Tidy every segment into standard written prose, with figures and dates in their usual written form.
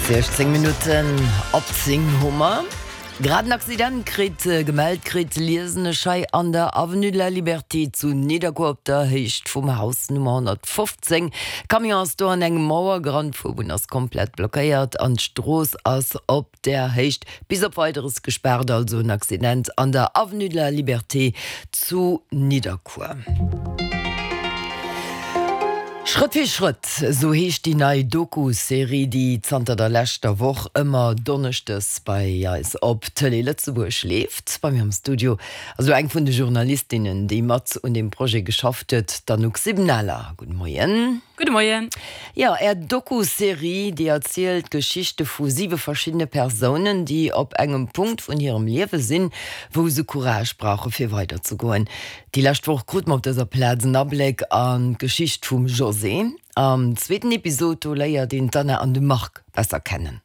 16 Minutten op 10 hu mer grad en Accident kritt gemellt kritt, liesen ech hei an der Avenue de la Liberté zu Nidderkuer op der Héicht vum Haus Nummer 115. Camion ass do an eng Mauer gerannt, d'Fuerbunn ass komplett blockéiert an d'Strooss ass op der Héicht bis op Weideres gespaart. Also en Accident an der Avenue de la Liberté zu Nidderkuer. Schrëtt fir Schrëtt, esou heescht déi nei Doku-Serie, déi zanter der leschter Woch ëmmer donneschdes bei eis op Tëlee Lëtzebuerg leeft. Bei mir am Studio ass elo eng vun de Journalistinnen, déi mat un deem Projet geschafft huet, d'Anouk Sibenaler. Gudde Moien. Gudde Moien. Jo, Är Doku-Serie, déi erzielt d'Geschichte vu siwe verschiddene Persounen, déi op engem Punkt vun hirem Liewe sinn, wou se Courage brauche fir weiderzegoen. Déi lescht Woch krute mer op dëser Plaz en Abléck an d'Geschicht vum José. Am zweeten Episod, do léiert een d'Anna an de Marc besser kennen.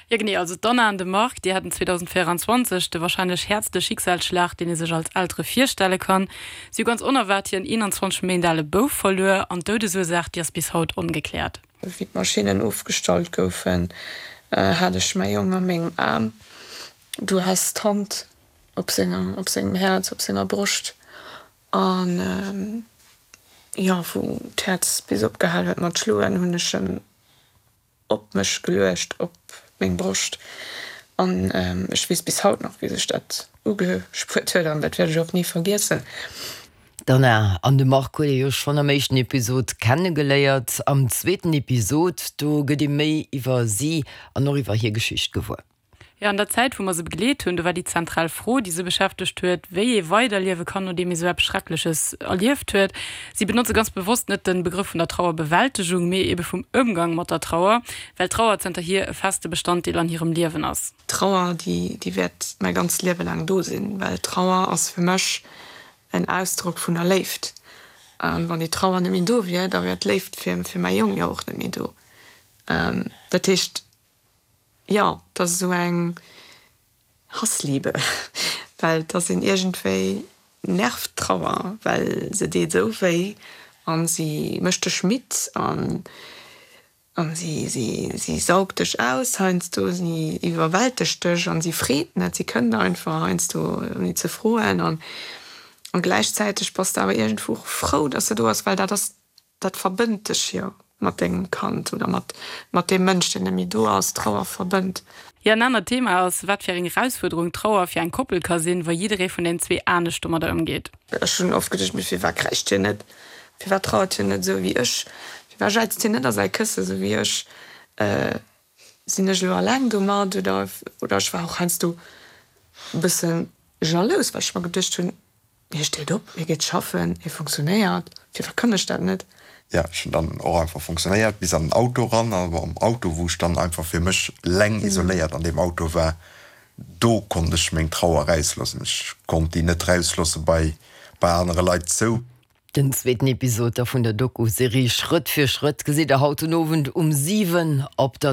Jo genee, also d'Anna an de Marc, déi haten 2024 de warscheinlech häertste Schicksalsschlag, deen ee sech als Eltere virstelle kann. Si hu ganz onerwaart hiren 21 Méint ale Bouf verluer an d'Doudesursaach, déi ass bis haut ongekläert. Wéi d'Maschinnen ofgestallt goufen, hat ech mäi Jong a mengem Aarm. Du has d'Hand op sengem, op sengem Häerz, op senger Broscht an, jo, wou d'Häerz bis opgehal huet mat schloen, hunn ech en op mech geluecht, op meng Broscht an ech weess bis haut nach wéi sech dat ugespuert huet an dat wäert ech och ni vergiessen. D'Anna an de Marc huet ee jo schonn am éischten Episod kennegeléiert. Am zweeten Episod, do gëtt ee méi iwwer si an och iwwer hir Geschicht gewuer. Jo, an der Zäit, wou mer se begleet hunn, do war déi zentral Fro, déi se beschäftegt huet, wéi ee weiderliewe kann, nodeem ee sou eppes Schreckleches erlieft huet. Si benotze ganz bewosst net de Begrëff vun der Trauerbewältegung, mee ebe vum Ëmgang mat der Trauer, well d'Trauer zënterhier e feste Bestanddeel an hirem Liewen ass. Trauer, déi, déi wäert mäi ganzt Liewe laang do sinn, well Trauer ass fir mech en Ausdrock vun der Léift. A wann déi Trauer net méi do wier, da wär d'Léift fir, fir mäi Jong jo och net méi do. Dat heescht, Jo, et ass esou eng Hassliebe, well et ass een iergendwéi nervt d'Trauer, well se deet esou wéi an si mécht dech midd an an si si si saugt dech aus heiansdo, si iwwerwältegt dech an si freet net, si kënnt einfach heiansdo ouni ze froen an an gläichzäiteg bass de awer iergendwou och frou, dass se do ass, well dat ass Dat verbënnt dech jo mat dengem Kand oder mat mat deem Mënsch, deen net méi do ass. Trauer verbënnt. Jo, en anert Thema ass, wat fir eng Erausfuerderung Trauer fir eng Koppel ka sinn, wa jidderee vun den zwee anescht domadder ëmgeet. Ech hunn oft geduecht, mee firwat kräischt hien net? Firwat trauert hien net esou wéi ech? Firwat jäizt hien net a säi Kësse sou wéi ech? Sinn ech elo alleng domat? Oder oder ech war och heiansdo e bësse jalous, well ech mer geduecht hunn, Hie steet op, hie geet schaffen, hie funktionéiert, firwat kann ech dat net? Jo, ech hunn dann och einfach funktionéiert bis an den Auto eran, an am Auto, wou ech dann einfach fir mech leng isoléiert an deem Auto war, do konnt ech meng Trauer rausloossen. Ech konnt déi net rausloosse bei bei anere Leit zou. Den zweeten Episod da vun der Doku-Serie Schrëtt fir Schrëtt gesitt der haut den Owend um 7 op der.